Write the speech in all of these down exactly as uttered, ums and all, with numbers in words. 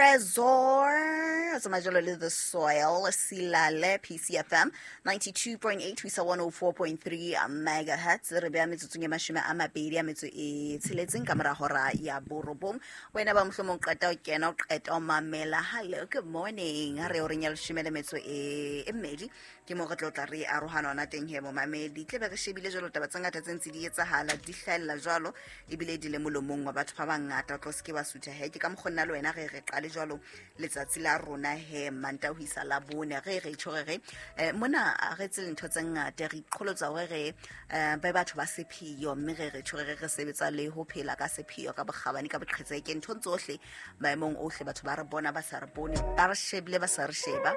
Tresor tsamaya jalo le The Soil Silale P C F M ninety-two point eight ho isa one oh four point three megahertz. Re beya metsotsong e mashome a mabedi a metso e tsheletseng ka mora hora ya borobong. Wena ba mohlomong qeta o kena o qeta o mamela. Hello, good morning. Ha re o reng ya leshome le metso e e mmedi ke mo re tlo tla re arohana hona teng he momamedi. Tle be re shebile jwalo taba tse ngata tse ntse di etsahala di hlahella jwalo ebile di le molomong wa batho ba bangata. O tlo se ke wa sutha he ke ka mokgwa nna le wena re re qale jwalo letsatsi la rona he Manta ho isa la bone re re tjho re re eh, mona re tse ntho tse ngata re iqholotsa hore re eh, ba batho ba sepheo mme re re tjho re re sebetsa le ho phela ka sepheo ka bokgabane ka boqhetseke ntho tsohle maemong ohle batho ba re bona ba sa re bone ba re shebile ba sa re sheba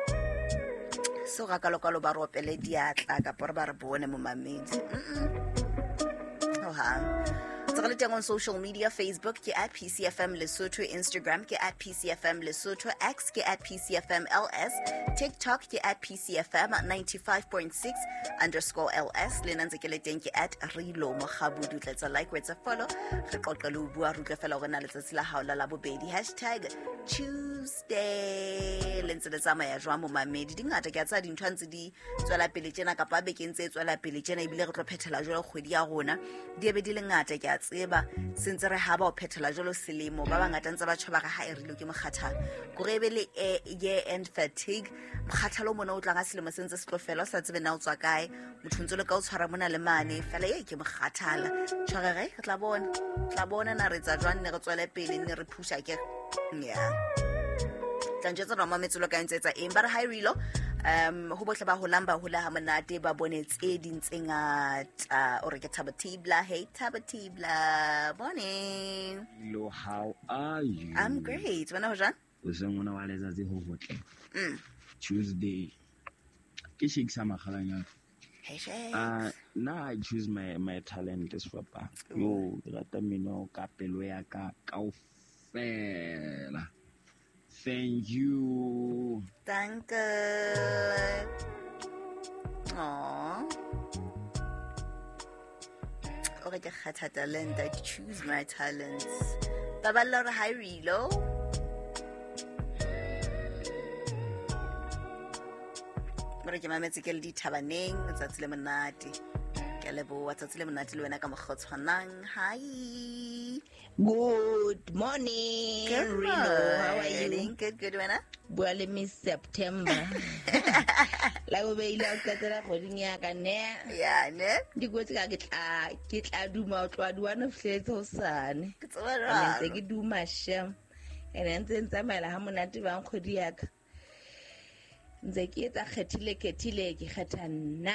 so ga kalokalo ba re opele diatla kapa re ba re bone momamedi. Mm hohang. Re teng on social media, Facebook ke at P C F M Lesotho, Instagram ke at P C F M Lesotho, X ke at P C F M L S, TikTok ke at P C F M ninety-five point six underscore L S. Le nna ntse ke le teng ke at Rilo Mokgabudu. Tla like, wetsa follow. Re qoqe le ho bua, re utlwe fela hore na letsatsi la hao la Labobedi. Hashtag Tuesday. Le ntse le tsamaya jwang momamedi? Di ngata ke a tsaya dintho ntse di tswela pele tjena kapa bekeng tse tswela pele tjena ebile re tlo phethela jwalo kgwedi ya rona. Di ebe di le ngata ke a tseba sentse re ha ba o phethela jwalo selemo ba bangata ntse ba tjho ba re ha e rile ke mokgathala kore ebe le year end fatigue mokgathalo mona o tlang ka selemo sentse se tlo fela o sa tsebe na o tswa kae motho ntse le ka o tshwara mona le mane fela ye ke mokgathala tshware re tla bona tla bona na re tsa jwang ne re tswele pele ne re phusha ke yeah tla ntse roma metsolo ka ntse tsa eng ba re hi Rilo um ho bohle ba holang ba hola ha monate ba bone tse ding tse ngata o re ke Thabo Tibla. Hey Thabo Tibla, morning. Hello, how are you? I'm great. Wena ho jwang? O seng ona wa letsatsi ho hotle. Mm. Tuesday ke shake sa magalanyana. Hey shake. Uh na I choose my my talent sefapa. Yo ke rata mmino ka pelo ya ka kaofela. Thank you. Danke. Aww. O re ke kgetha talent. I choose my talents. Baballa re hi Rilo. Re ke mametse ke le dithabaneng letsatsi le monate. Ke a leboha tsatsi le monate le wena ka mokgwa o tshwanang. Hi. Good morning. Good Rilo. How are you? Good, good wena. Bua le Miss September. La go beile o qetela kgweding ya ka ne. Yeah, ne. Di kwetse ka ke tla ke tla duma o tloa duana fihletse hosane. Ke tseba jwang. Ntse ke duma shem. Ene ntse ntsamaela ha monate bang kgwedi ya ka. Ntse ke etsa kgethile khethile ke kgetha nna.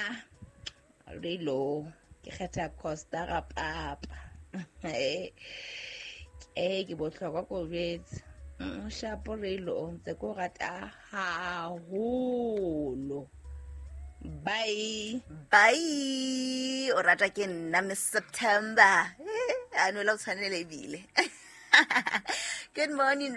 Rilo ke kgetha Costa ga papa. Eh eh ke bohlokwa ko jwetse. Shapo Rilo ntse ko rata haholo. Bye. Bye. O rata ke nna Miss September. A no la o tshwanele ebile. Good morning.